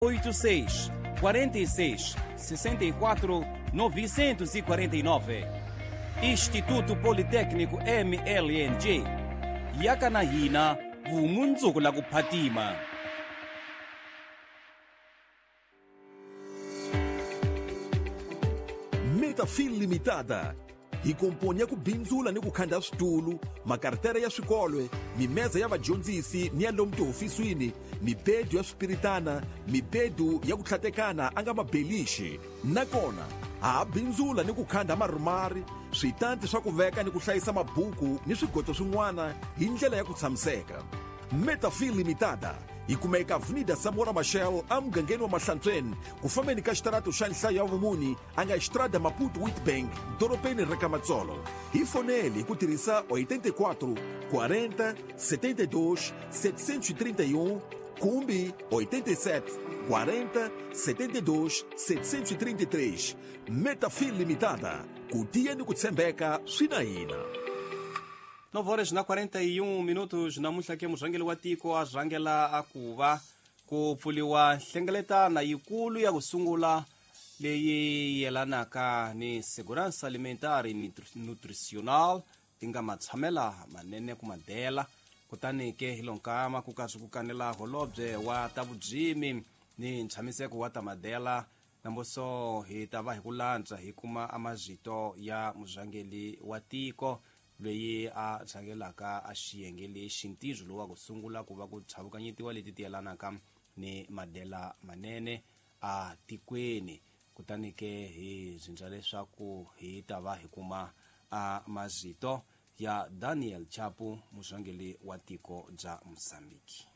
86 46 64 949. Instituto Politécnico MLNG yaka na hina vumundzuku la ku phatima. Metafil Limitada hi komponi ya ku bindzula ni ku khanda switulu, makartere ya swikolwe, mimeza ya vadyondzisi ni ya lomu tihofisini, mibedu ya swipiritana, mibedu ya ku tlhatekana a nga mabelixi. Nakona ha ha bindzula ni ku khanda marumari, switanti swa ku veka ni ku hlayisa mabuku ni swigoto swin'wana hi ndlela ya ku tshamiseka. Metafil Limitada yi kumeka Avenida Samora Machel emugangeni wa Mahlantsweni, ku fambeni ka xitarato xa nhlayo ya vumuni a nga Estrada Maputo Witbank, dorobeni ra ka Matsolo. Hi foneli hi ku tirhisa 84 40 72 731 kumbe 87 40 72 733. Metafil Limitada, ku tiya ni ku tshembeka swi na hina. 9 horas na 41 minutos. Namuntlha ke murhangeri wa tiko a rhangela a ku va ku pfuriwa nhlengeletana yikulu ya ku sungula leyi yelanaka ni segurança alimentar e nutricional, ti nga matshamela manene ku madela. Kutani ke hi lonkama ku karhi ku kanela holobye wa ta vubyimi ni ntshamiseko wa ta madela. Namboso hi ta va hi ku lantswa hi kuma amazito ya murhangeri wa tiko loyi a rhangelaka a xiyenge lexi, ntirho lowu wa ku sungula ku va ku tshavukanyetiwa leti ti yelanaka ni madela manene a tikweni. Kutani ke hi zindza leswaku hi ta va hi kuma a mazito ya Daniel Chapo, murhangeri wa tiko bya Mozambique.